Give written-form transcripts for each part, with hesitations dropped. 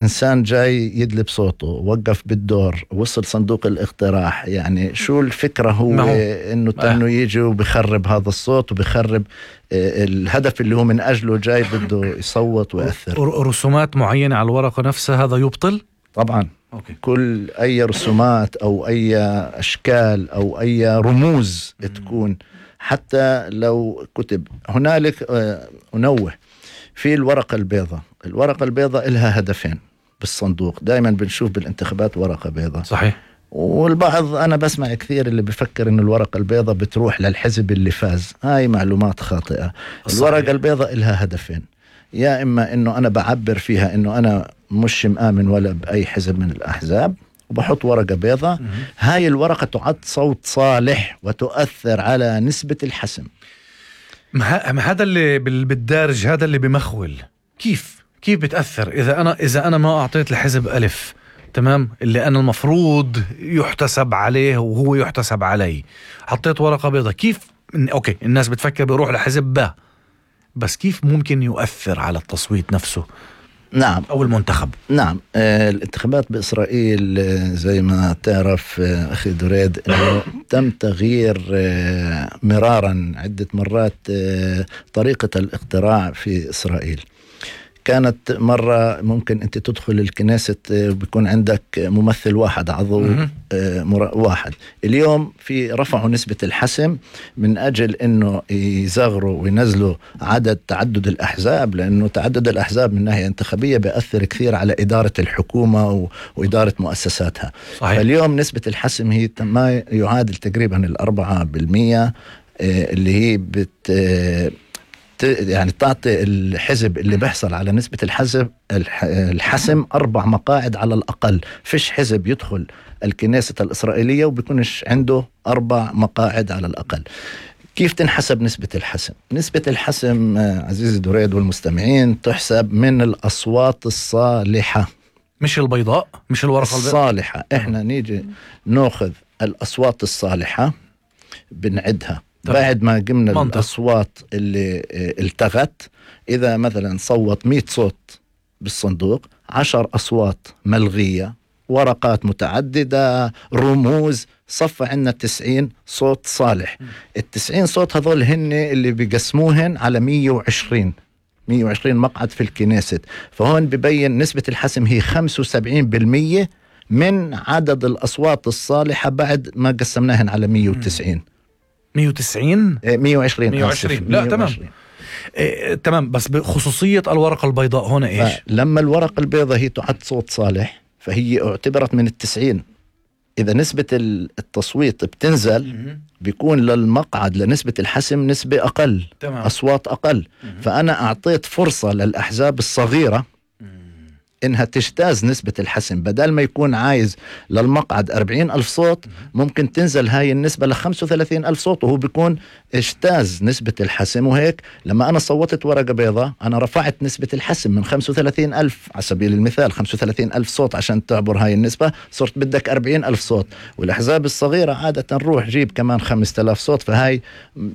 إنسان جاي يدلب صوته، وقف بالدور، وصل صندوق الاقتراح، يعني شو الفكرة هو إنه يجي وبيخرب هذا الصوت وبيخرب الهدف اللي هو من أجله جاي بده يصوت ويأثر. رسومات معينة على الورقة نفسها هذا يبطل؟ طبعا. أوكي. كل أي رسومات أو أي أشكال أو أي رموز تكون، حتى لو كتب هنالك أنوه في الورقة البيضاء إلها هدفين بالصندوق. دائما بنشوف بالانتخابات ورقة بيضاء، صحيح، والبعض أنا بسمع كثير اللي بفكر إنه الورقة البيضاء بتروح للحزب اللي فاز. هاي معلومات خاطئة. صحيح. الورقة البيضاء إلها هدفين، يا إما إنه أنا بعبر فيها إنه أنا مش مآمن ولا بأي حزب من الأحزاب وبحط ورقة بيضاء. هاي الورقة تعد صوت صالح وتؤثر على نسبة الحسم. هذا اللي بالدارج، هذا اللي بمخول. كيف بتأثر إذا أنا ما أعطيت لحزب ألف، تمام، اللي أنا المفروض يحتسب عليه وهو يحتسب علي، حطيت ورقة بيضاء، كيف أوكي الناس بتفكر بيروح لحزب با، بس كيف ممكن يؤثر على التصويت نفسه؟ نعم. أو المنتخب. نعم. الانتخابات بإسرائيل زي ما تعرف أخي دريد أنه تم تغيير مرارا عدة مرات طريقة الاقتراع في إسرائيل. كانت مرة ممكن أنت تدخل الكنيسة بيكون عندك ممثل واحد، عضو واحد. اليوم في رفعوا نسبة الحسم من أجل أنه يزغروا وينزلوا تعدد الأحزاب، لأنه تعدد الأحزاب من ناحية انتخابية بيأثر كثير على إدارة الحكومة وإدارة مؤسساتها. صحيح. فاليوم نسبة الحسم هي ما يعادل تقريبا 4%، اللي هي يعني تعطي الحزب اللي بيحصل على نسبة الحسم 4 مقاعد على الأقل. فيش حزب يدخل الكنيسة الإسرائيلية وبيكونش عنده 4 مقاعد على الأقل. كيف تنحسب نسبة الحسم؟ نسبة الحسم عزيزي دريد والمستمعين تحسب من الأصوات الصالحة، مش البيضاء، مش الورقة الصالحة. إحنا نيجي نأخذ الأصوات الصالحة بنعدها بعد ما قمنا الأصوات اللي التغت. إذا مثلا صوت 100 صوت بالصندوق، 10 أصوات ملغية، ورقات متعددة، رموز، صفى عنا 90 صوت صالح. 90 صوت هذول هن اللي بيقسموهن على 120 مقعد في الكنيسة. فهون ببين نسبة الحسم هي 75% من عدد الأصوات الصالحة بعد ما قسمناهن على 190. 120 لا 120. تمام. بس بخصوصية الورقة البيضاء هنا إيش؟ لما الورقة البيضاء هي تعد صوت صالح فهي اعتبرت من 90. إذا نسبة التصويت بتنزل بيكون للمقعد لنسبة الحسم نسبة أقل. تمام. أصوات أقل. فأنا أعطيت فرصة للأحزاب الصغيرة إنها تجتاز نسبة الحسم. بدل ما يكون عايز للمقعد 40,000 صوت، ممكن تنزل هاي النسبة ل35,000 صوت، وهو بيكون اجتاز نسبة الحسم. وهيك لما أنا صوتت ورقة بيضاء أنا رفعت نسبة الحسم من 35,000 على سبيل المثال 35,000 صوت عشان تعبر هاي النسبة، صرت بدك 40,000 صوت. والأحزاب الصغيرة عادة نروح جيب كمان 5,000 صوت. فهاي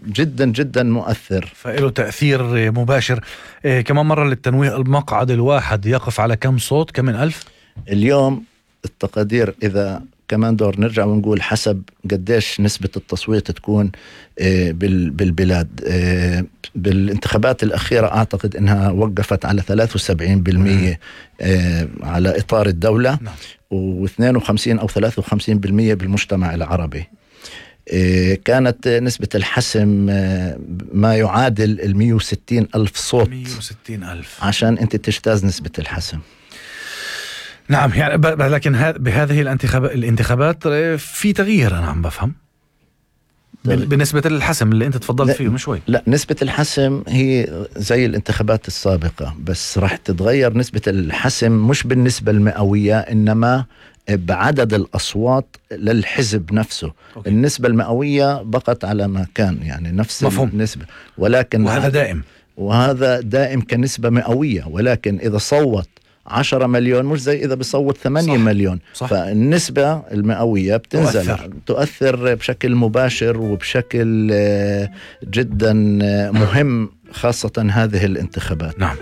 جدا جدا مؤثر، فإله تأثير مباشر. كمان مرة للتنويه، المقعد الواحد يقف على كم صوت؟ كم من ألف؟ اليوم التقدير إذا كمان دور نرجع ونقول حسب قديش نسبة التصويت تكون بالبلاد. بالانتخابات الأخيرة أعتقد أنها وقفت على 73% على إطار الدولة، و52 أو 53% بالمجتمع العربي. كانت نسبة الحسم ما يعادل 160,000 صوت. 160,000 عشان أنت تجتاز نسبة الحسم. نعم. يعني لكن بهذه الانتخابات في تغيير، أنا عم بفهم بالنسبة للحسم اللي أنت تفضلت فيه من شوي. لا، نسبة الحسم هي زي الانتخابات السابقة، بس راح تتغير نسبة الحسم مش بالنسبة المئوية، إنما بعدد الأصوات للحزب نفسه. أوكي. النسبة المئوية بقت على ما كان، يعني نفس مفهوم. النسبة، ولكن وهذا دائم كنسبة مئوية. ولكن إذا صوت 10 مليون مش زي إذا بصوت 8 مليون. صح. فالنسبة المئوية بتنزل، تؤثر بشكل مباشر وبشكل جدا مهم، خاصة هذه الانتخابات. نعم.